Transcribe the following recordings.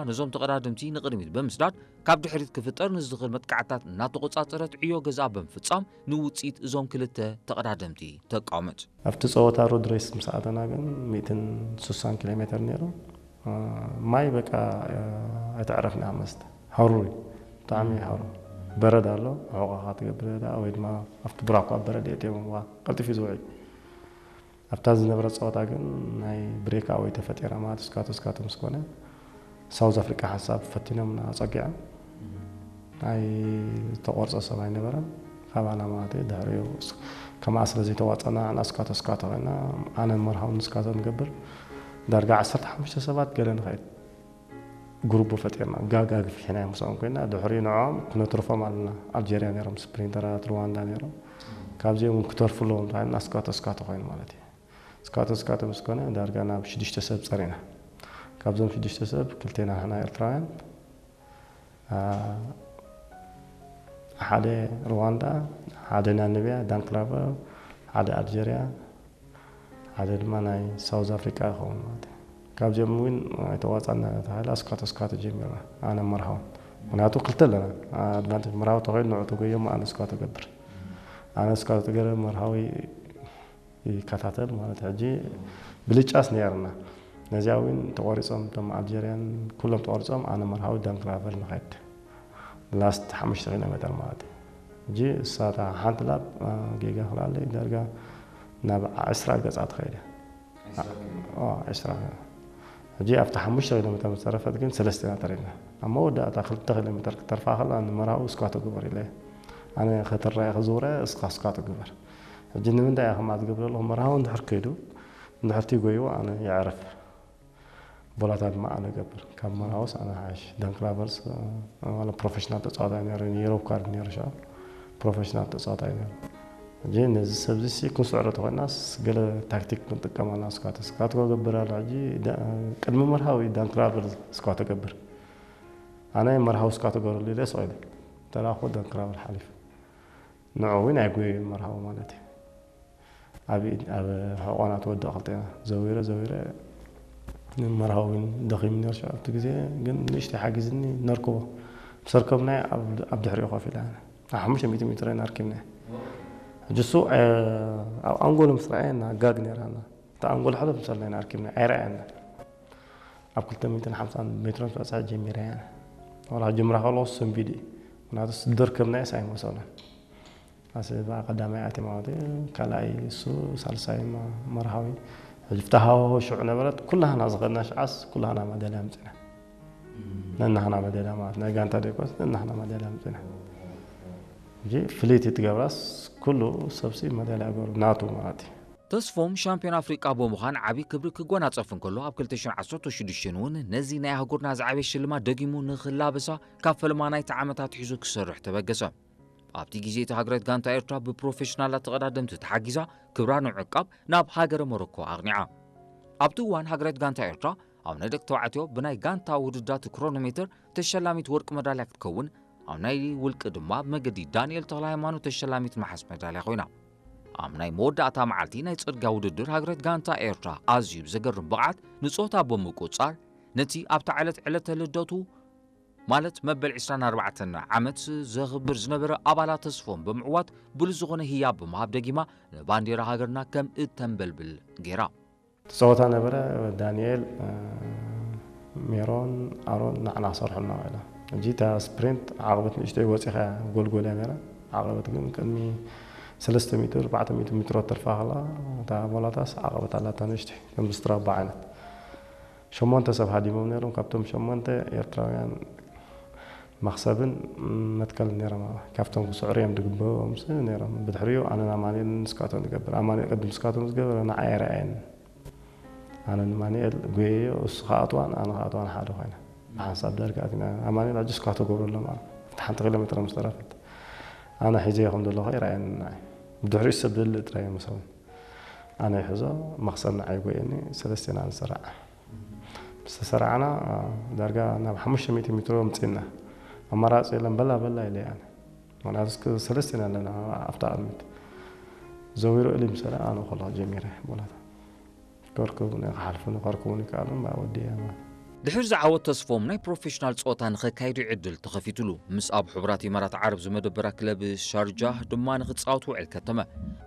ነዞም ተቐዳደምቲ ንቕድሚት ብምስዳድ ካብ ድሕሪት ክፍጠር ንዝኽእል መጥቃዕታት እናተቖጻጸረት ዕዮ ገዛ ብምፍጻም ንውጽኢት እዞም ክልተ ተቐዳደምቲ ተቃወመት። ኣብቲ ጸወታ ሮድ ሬስ ምስ ኣተና ግን ሚእትን ስሳን ኪሎ ሜተር ነይሩ። ማይ በቃ ኣይተዕረፍና መስተ ሃሩር እዩ፣ ብጣዕሚ ሃሩር በረድ ኣሎ። ሕቆኻ ትገብር ደኣ ወይ ድማ ኣብቲ ብራኳ በረድ የእትዮም ዋ ቀልጢፍ እዩ ዝውዒ። ኣብታ ዝነበረ ጸወታ ግን ናይ ብሬክ ኣወይ ተፈጢራ ማለት እስካቶ እስካቶ ምስ ኮነ ሳውዝ ኣፍሪቃ ሓንሳብ ፈቲኖም ኣጸጊዖም። ናይ ዝተቆርጸ ሰብ ኣይነበረን ካባና ማለት እዩ። ድሕሪኡ ከምኣ ስለ ዘይተዋጸና ንኣስካቶ እስካቶ ኮይና ኣነ መርሃዊ ንስካቶ ንገብር ዳርጋ ዓሰርተ ሓሙሽተ ሰባት ገለ ንኸይድ ጉሩቡ ፈጢርና ጋጋ ግፊሕና ምስኦም ኮይና ድሕሪኡ ንዕኦም ክነትርፎም ኣለና። ኣልጀርያ ነይሮም፣ ስፕሪንተራት ሩዋንዳ ነይሮም። ካብዚኦም እውን ክተርፉ ኣለዎም ተባሂልና እስካቶ እስካቶ ኮይኑ ማለት እዩ። እስካቶ እስካቶ ምስ ኮነ ዳርጋ ናብ ሽዱሽተ ሰብ ጸሪና። ካብዞም ሽዱሽተ ሰብ ክልቴና ንሕና ኤርትራውያን ሓደ ሩዋንዳ፣ ሓደ ናሚብያ ዳንክራቨር፣ ሓደ ኣልጀርያ፣ ሓደ ድማ ናይ ሳውዝ ኣፍሪቃ ይኸውን ማለት እዩ። ካብዚኦም እውን ኣይተዋፃና ተባሂላ እስካቶ እስካቶ ጀሚርና ኣነ መርሃውን። ምክንያቱ ክልተ ኣለና ኣድቫንቴጅ፣ መርሃዊ ተኮይኑ ንዑ ተጎዮም ኣነ እስካቶ ገብር ኣነ እስካቶ ገረ መርሃዊ ይከታተል ማለት ሕጂ ብልጫስ ነይርና። ነዚኣ እውን ተቆሪጾም እቶም ኣልጀርያን ኩሎም ተቆሪጾም ኣነ መርሃዊ ዳንክራቨር ንኸድ ላስት ሓሙሽተ ኪሎ ሜተር ማለት እዩ። ሕጂ እሳታ ሓንቲ ላብ ጌጋ ክላለይ ዳርጋ ናብ ዕስራ ገጻ ትኸይደ ዕስራ ሕጂ ኣብቲ ሓሙሽተ ኪሎ ሜተር ዝተረፈት ግን ሰለስተ ኢና ተሪፍና። ኣብ መወዳእታ ክልተ ኪሎ ሜተር ክተርፋ ከላ ንመርሃዊ እስኳቶ ግበር ኢለ ኣነ ከተራየ ክዝውረ እስካ እስኳቶ ግበር። ሕጂ ንምንታይ እያ ከምኣ ትገብር ኣለኹ? መርሃዊ እንድሕር ከይዱ እንድሕር ትጎይዎ ኣነ የዕርፍ። ቦላታ ድማ ኣነ ገብር። ካብ መርሃውስ ኣነ ሓሽ። ዳንክራቨርስ ማለት ፕሮፌሽናል ተጻዋታይ ነይሩ፣ ዩሮፕ ካርድ ነይሩ ሻ ፕሮፌሽናል ተጻዋታይ ነይሩ። ሕጂ ነዚ ሰብዚ ሲ ክንስዕሮ ተኾይናስ ገለ ታክቲክ ክንጥቀም ኣላ። ስኳት ስኳት ገብር ኣሎ። ሕጂ ቅድሚ መርሃዊ ዳንክራቨር ስኳት ገብር ኣነ መርሃዊ ስኳት ገብርሉ ኢለ ስቕ ኢለ ተላኹ ዳንክራቨር ሓሊፉ ንዑ እውን ኣይጉየዩን መርሃዊ ማለት እዩ። ኣብ ኢድ ኣብ ሕቆና ትወድቕ ክልቴና ዘዊረ ዘዊረ መርሃዊ እውን ደኺሙ ነይሩ ሽዑ ኣብቲ ግዜ ግን ንእሽተይ ሓጊዝኒ ነርክቦ ምስ ኣርከብናዮ ኣብ ድሕሪኡ ኮፍ ኢለ ኣነ ኣብ ሓሙሽተ ሚእቲ ሜትሮ ኢና ኣርኪብናዮ ሕጂ እሱ ኣብ ኣንጎሉ ምስ ረኣየና ጋግ ነይራና እታ ኣንጎሉ ሕለፍ ምስ ኣለና ኢና ኣርኪብናዮ ኣይረኣየና ኣብ ክልተ ሚእትን ሓምሳን ሜትሮ ምስ በጽሐ ጀሚረ እያ ዋላ ክጅምራ ከለኹ ሰንቢዱ እዩ ምክንያቱ ዝደርከብናዮስ ኣይመሰሎን ኣስበ ቀዳማይ ኣትየ ማለት እዩ ካልኣይ እሱ ሳልሳይ መርሃዊ ሕጂ ፍትሃዊ ሽዑ ነበረት ኩላህና ዝኸድና ሽዓስ ኩላህና ማዳልያ ኣምፂና ነናህና ማዳልያ ማለት ናይ ጋንታ ደይኮስ ነናህና ማዳልያ ኣምፂና ሕጂ ፍልይቲ ትገብራስ ኩሉ ሰብሲ ማዳልያ ገሩ ናቱ ማለት እዩ ተስፎም ሻምፒዮን ኣፍሪቃ ብምዃን ዓብዪ ክብሪ ክጎናጸፍ እንከሎ ኣብ ክልተ ሽሕን ዓሰርተ ሽዱሽተን እውን ነዚ ናይ ኣህጉርና ዝዓበየ ሽልማት ደጊሙ ንኽላበሳ ካብ ፈለማ ናይቲ ዓመት ኣትሒዙ ክሰርሕ ተበገሰ። ኣብቲ ግዜ እቲ ሃገራዊት ጋንታ ኤርትራ ብፕሮፌሽናላት ተቐዳደምቲ ተሓጊዛ ክብራ ንምዕቃብ ናብ ሃገረ ሞሮኮ ኣቕኒዓ። ኣብቲ እዋን ሃገራዊት ጋንታ ኤርትራ ኣብ ናይ ደቂ ተባዕትዮ ብናይ ጋንታ ውድዳት ክሮኖሜትር ተሸላሚት ወርቂ መዳልያ ክትከውን ኣብ ናይ ውልቂ ድማ ብመገዲ ዳንኤል ተኽለሃይማኖት ተሸላሚት ነሓስ መዳልያ ኮይና። ኣብ ናይ መወዳእታ መዓልቲ ናይ ጽርግያ ውድድር ሃገራዊት ጋንታ ኤርትራ ኣዝዩ ብዘገርም ብቕዓት ንጾታ ብምቁጽጻር ነቲ ኣብታ ዕለት ዕለተ ልደቱ ማለት መበል ዕስራን ኣርባዕተን ዓመት ዘኽብር ዝነበረ ኣባላት ተስፎም ብምዕዋት ብሉጽ ዝኾነ ህያብ ብምሃብ ደጊማ ንባንዴራ ሃገርና ከም እተንበልብል ገይራ። እቲ ጸወታ ነበረ ዳንኤል፣ ሜሮን፣ ኣሮን ንዓና ክሰርሑልና ውዒሎም። ሕጂ እታ ስፕሪንት ዓቐበት ንእሽተይ ወጺኻ እያ ጎልጎል እያ ነይራ። ዓቐበት ግን ቅድሚ ሰለስተ ሚእቲ ኣርባዕተ ሚእቲ ሜትሮ ተርፋ ከላ እታ ቦላታስ ዓቐበት ኣላታ ንእሽተይ ከም ብስትራባ ዓይነት። ሸሞንተ ሰብ ሃዲሞም ነይሮም። ካብቶም ሸሞንተ ኤርትራውያን መኽሰብን መትከልን ነይሮም። ካብቶም ክስዕሩ እዮም ዝግበኦም ነይሮም። ብድሕሪኡ ኣነን ኣማኑኤልን ንስካቶም ንገብር። ኣማኑኤል ቅድም ንስካቶም ዝገበረ ንዓይ ኣይረኣየንን። ኣነ ንማኑኤል ጎየዮ፣ እሱ ክኣትዋን ኣነ ክኣትዋን ሓደ ኮይና። ብሓንሳብ ዳርጋ ኣቲና። ኣማኑኤል ሕጂ ስኳቶ ገብሩ ኣሎ ማለት ኣብቲ ሓንቲ ኪሎ ሜትር ምስ ተረፈት ኣነ ሒዘዮ ከም ዘለኹ ይረኣየኒ ንዓይ። ብድሕሪኡ ሰብ ዘልእ ጥራይ ይመስለኒ። ኣነ ይሕዞ፣ መኽሰብ ንዓይ ጎየኒ፣ ሰለስቴና ንስራዕ። ምስ ተሰራዕና ዳርጋ ናብ ሓሙሽተ ሚእቲ ሜትሮ ኣምጺእና። ኣማራጺ የለን፣ በላ በላ ኢለ ኣነ። ምኽንያቱ እስከ ሰለስቴና ኣለና ኣብታ ቅድሚት። ዘዊሩ እሊ ምስ በለ ኣነ ከለኹ ጀሚረ ቦላታ። ከርክቡኒ ክሓልፉኒ ከርክቡኒ ይከኣሉ እምበኣር ወዲኤ ማለት ድሕሪ ዝዓወት ተስፎም ናይ ፕሮፌሽናል ጸወታ ንኸካይዱ ዕድል ተኸፊቱሉ። ምስ ኣብ ሕቡራት ኢማራት ዓረብ ዝመደበራ ክለብ ሻርጃህ ድማ ንኽጻወት ውዕል ከተመ።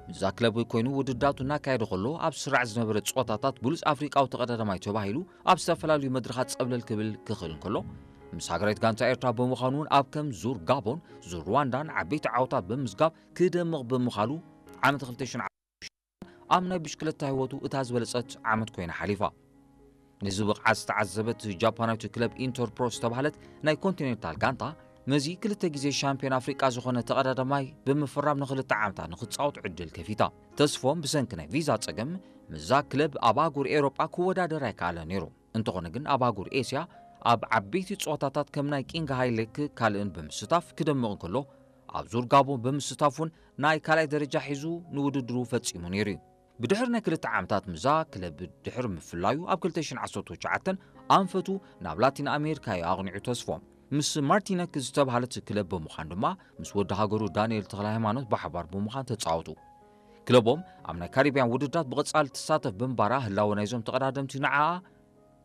ምስዛ ክለብ ኮይኑ ውድዳቱ እናካየደ ከሎ ኣብ ስራዕ ዝነበረ ጸወታታት ብሉጽ ኣፍሪቃዊ ተቐዳዳማይ ተባሂሉ ኣብ ዝተፈላለዩ መድረኻት ጸብለል ክብል ክኽእል እንከሎ፣ ምስ ሃገራዊት ጋንታ ኤርትራ ብምዃኑ እውን ኣብ ከም ዙር ጋቦን፣ ዙር ሩዋንዳን ዓበይቲ ዓወታት ብምዝጋብ ክደምቕ ብምኻሉ ዓመት ክልተ ሽሕን ኣብ ናይ ብሽክለታ ህይወቱ እታ ዝበለጸት ዓመት ኮይና ሓሊፋ። ነዚ ብቕዓት ዝተዓዘበት ጃፓናዊት ክለብ ኢንተርፕሮ ዝተባህለት ናይ ኮንቲኔንታል ጋንታ፣ ነዚ ክልተ ግዜ ሻምፒዮን ኣፍሪቃ ዝኾነ ተቐዳዳማይ ብምፍራም ንኽልተ ዓመታት ንኽጻወት ዕድል ከፊታ። ተስፎም ብሰንኪ ናይ ቪዛ ጸገም ምስዛ ክለብ ኣብ ኣህጉር ኤውሮጳ ክወዳደር ኣይከኣለን ነይሩ። እንተኾነ ግን ኣብ ኣህጉር ኤስያ ኣብ ዓበይቲ ጸወታታት ከም ናይ ኪንግ ሃይሌክ ካልእን ብምስታፍ ክደምቕ እንከሎ፣ ኣብ ዙር ጋቦን ብምስታፍ እውን ናይ ካልኣይ ደረጃ ሒዙ ንውድድሩ ፈጺሙ ነይሩ እዩ። ብድሕሪ ናይ ክልተ ዓመታት ምዛ ክለብ ድሕሪ ምፍላዩ ኣብ ክልተ ሽሕን ዓሰርተ ትሽዓተን ኣንፈቱ ናብ ላቲን ኣሜሪካ እዩ ኣቕኒዑ ተስፎም። ምስ ማርቲነክ ዝተባህለት ክለብ ብምዃን ድማ ምስ ወዲ ሃገሩ ዳንኤል ተኽለ ሃይማኖት ብሓባር ብምዃን ተጻወቱ። ክለቦም ኣብ ናይ ካሪብያን ውድድራት ብቐጻሊ ትሳተፍ ብምንባራ ህላወ ናይዞም ተቐዳደምቲ ንዓኣ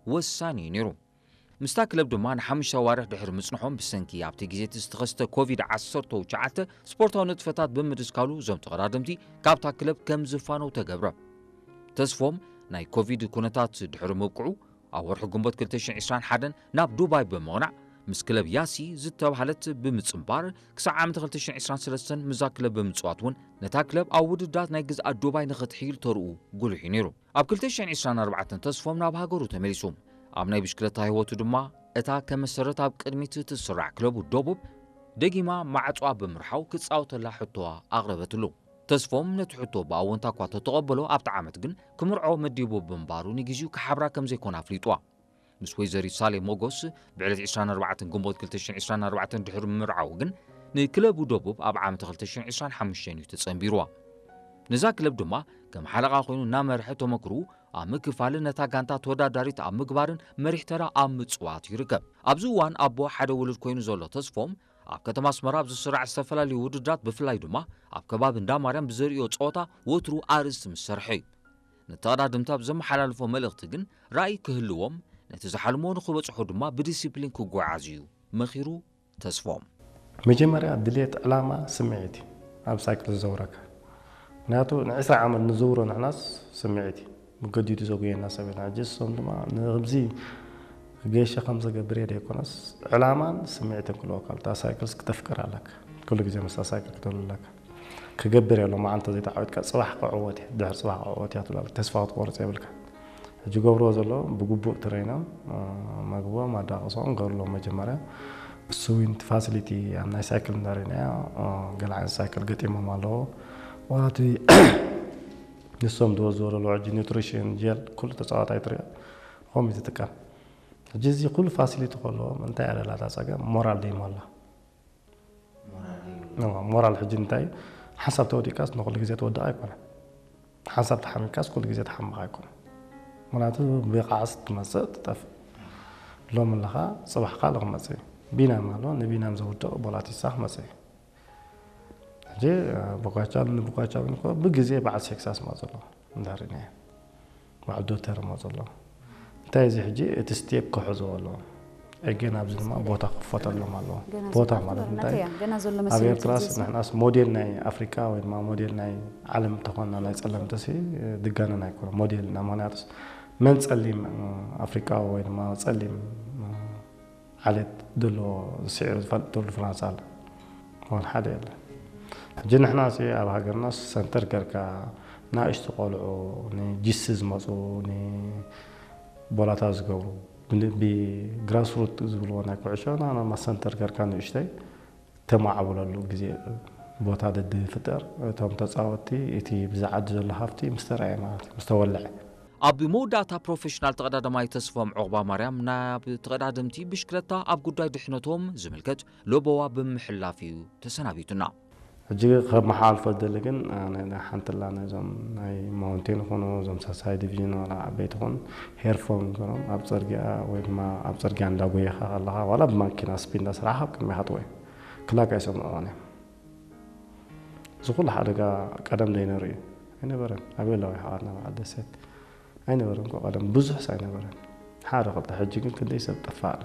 ወሳኒ እዩ ነይሩ። ምስታ ክለብ ድማ ንሓሙሽተ ኣዋርሕ ድሕሪ ምጽንሖም ብሰንኪ ኣብቲ ግዜ እቲ ዝተኸስተ ኮቪድ ዓሰርተ ትሽዓተ ስፖርታዊ ንጥፈታት ብምድስካሉ እዞም ተቐዳደምቲ ካብታ ክለብ ከም ዝፋነው ተገብረ። ተስፎም ናይ ኮቪድ ኩነታት ድሕሪ ምብቅዑ ኣብ ወርሒ ግንቦት ክልተ ሽሕን ዕስራን ሓደን ናብ ዱባይ ብምቕናዕ ምስ ክለብ ያሲ ዝተባህለት ብምጽንባር ክሳዕ ዓመት ክልተ ሽሕን ዕስራን ሰለስተን ምዛ ክለብ ብምጽዋት እውን ነታ ክለብ ኣብ ውድድራት ናይ ግዝኣት ዱባይ ንኽትሕይል ተርኡ ጉሉሕ እዩ ነይሩ። ኣብ ክልተ ሽሕን ዕስራን ኣርባዕተን ተስፎም ናብ ሃገሩ ተመሊሱ። ኣብ ናይ ብሽክለታ ህይወቱ ድማ እታ ከመሰረት ኣብ ቅድሚት እትስራዕ ክለቡ ደቡብ ደጊማ ማዕጾኣ ብምርሓው ክጻወተላ ሕቶዋ ኣቕረበትሉ። ተስፎም ነቲ ሕቶ ብኣወንታ እኳ ተተቐበሎ ኣብቲ ዓመት ግን ክምርዖ መዲቡ ብምንባሩ ንግዜኡ ክሓብራ ከም ዘይኮነ ኣፍሊጥዋ። ምስ ወይዘሪት ሳሌ ሞጎስ ብዕለት ዕስራን ኣርባዕተን ግንቦት ክልተ ሽሕን ዕስራን ኣርባዕተን ድሕሪ ምምርዓው ግን ንክለቡ ደቡብ ኣብ ዓመት ክልተ ሽሕን ዕስራን ሓሙሽተን እዩ ተጸንቢርዋ። ነዛ ክለብ ድማ ከም ሓለቓ ኮይኑ እናመርሐ ተመክርኡ ኣብ ምክፋልን ነታ ጋንታ ተወዳዳሪት ኣብ ምግባርን መሪሕ ተራ ኣብ ምጽዋት ይርከብ። ኣብዚ እዋን ኣቦ ሓደ ውሉድ ኮይኑ ዘሎ ተስፎም ኣብ ከተማ ኣስመራ ኣብ ዝስራዕ ዝተፈላለዩ ውድድራት ብፍላይ ድማ ኣብ ከባቢ እንዳ ማርያም ብዘርእዮ ጸወታ ወትሩ ኣርእስቲ ምስ ሰርሐ እዩ። ንተቐዳደምቲ ኣብ ዘመሓላልፎ መልእኽቲ ግን ራእይ ክህልዎም ነቲ ዝሓልሞ ንኽበጽሖ ድማ ብዲሲፕሊን ክጓዓዝ እዩ መኺሩ ተስፎም። መጀመርያ ድሌት ዕላማ ስምዒት እዩ ኣብ ሳይክል ዝዘውረካ። ምክንያቱ ንዕስራ ዓመት ንዝውሮ ንሕናስ ስምዒት እዩ ብገዲዱ ዘጉየና ሰብ የለን። ሕጂ እሶም ድማ ንክምዚ ገሸ ከም ዘገብር እየ ዘይኮነስ ዕላማን ስምዒትን ክልወካ እታ ሳይክልስ ክተፍቅር ኣለካ። ኩሉ ግዜ ምስታ ሳይክል ክትህሉ ኣለካ። ክገብር እየ ሎማዓንቲ ዘይተዓወትካ ጽባሕ ክዕወት እየ ድሕሪ ጽባሕ ክዕወት እያ ትብላ ተስፋ ክትቆርጽ የብልካ። ሕጂ ገብርዎ ዘሎ ብግቡእ ትረይኖም መግቦም ኣዳቕሶም ገርሎም መጀመርያ ስዊንት ፋሲሊቲ ኣብ ናይ ሳይክል እንዳረይናዮ ገለ ዓይነት ሳይክል ገጢሞም ኣለዎ ዋላ እቲ ንሶም ዝወዝዎ ዘለዉ ሕጂ ኒትሪሽን ጀል ኩሉ ተፃዋታይ ትሪኦ ከምኡ እዩ ዝጥቀም ሕጂ እዚ ኩሉ ፋሲሊቲ ከለዎም እንታይ ኣለላ እታ ፀገም ሞራል ደይመላ ሞራል ሕጂ እንታይ ሓንሳብ ተወዲእካስ ንኩሉ ግዜ ትወድቕ ኣይኮነ ሓንሳብ ተሓሚምካስ ኩሉ ግዜ ትሓምቕ ኣይኮነ ምክንያቱ ብቃዕስ ትመፅእ ትጠፍእ ሎም ኣለኻ ፅባሕ ካልእ ክመፅእ እዩ ቢናም ኣሎ ንቢናም ዘውድቕ ቦላቲሳ ክመፅእ እዩ ሕጂ ቦጋቻል ንቦጋቻል ብግዜ በዓል ሴክሳስ ማ ዘሎ እንዳሪና በዓል ዶተር ማ ዘሎ እንታይ እዚ ሕጂ እቲ ስቴፕ ክሕዝዎ ኣለዎ ኤጌን ኣብዚ ድማ ቦታ ክፈተሎም ኣለዎ ቦታ ማለት እንታይ ኣብ ኤርትራስ ንሕናስ ሞዴል ናይ ኣፍሪካ ወይ ድማ ሞዴል ናይ ዓለም ተኾንና ናይ ፀለምትሲ ድጋነን ኣይኮነ ሞዴል እና ምክንያቱስ መን ፀሊም ኣፍሪካዊ ወይ ድማ ፀሊም ዓሌት ዘለዎ ዝስዕር ዝፈልጥ ትውልዲ ፍራንሳ ኣሎ። እዋን ሓደ የለን። ሕጂ ንሕና ሲ ኣብ ሃገርና ሰንተር ገርካ ንእሽቱ ቆልዑ ንጂሲ ዝመፁ ንቦላታ ዝገብሩ ብግራስሩት ዝብልዎ ናይ ኩዕሾ ናናማ ሰንተር ገርካ ንእሽተይ ተማዕብለሉ ግዜ ቦታ ደድፍጠር እቶም ተፃወቲ እቲ ብዝዓዲ ዘሎ ሃፍቲ ምስተረኣየ ማለት እዩ ምስተወለዐ ኣብ መወዳእታ ፕሮፌሽናል ተቐዳዳማይ ተስፎም ዑቕባ ማርያም ናብ ተቐዳደምቲ ብሽክለታ ኣብ ጉዳይ ድሕነቶም ዝምልከት ለበዋ ብምሕላፍ እዩ ተሰናቢቱና። ሕጂ ከመሓላልፎ ዝደሊ ግን ሓንትላ ነዞም ናይ ማውንቴን ይኹኑ እዞም ሳሳይ ዲቪዥን ዋላ ዓበይቲ ይኹን ሄርፎን ገሮም ኣብ ፅርጊያ ወይ ድማ ኣብ ፅርጊያ እንዳጎየኻ ከለኻ ዋላ ብማኪና ስፒድ እንዳሰራሕኻ ኣብ ቅድሜኻ ጥወ ክላክ ኣይሰምዕዎን እዮም። እዚ ኩሉ ሓደጋ ቀደም ዘይነሩ እዩ ኣይነበረን። ኣበይ ኣለዋ ይሓዋትና በዓል ደሴት ኣይነበረን እኮ ቀደም ብዙሕስ ኣይነበረን። ሓደ ክልተ ሕጂ ግን ክንደይ ሰብ ጠፋእና።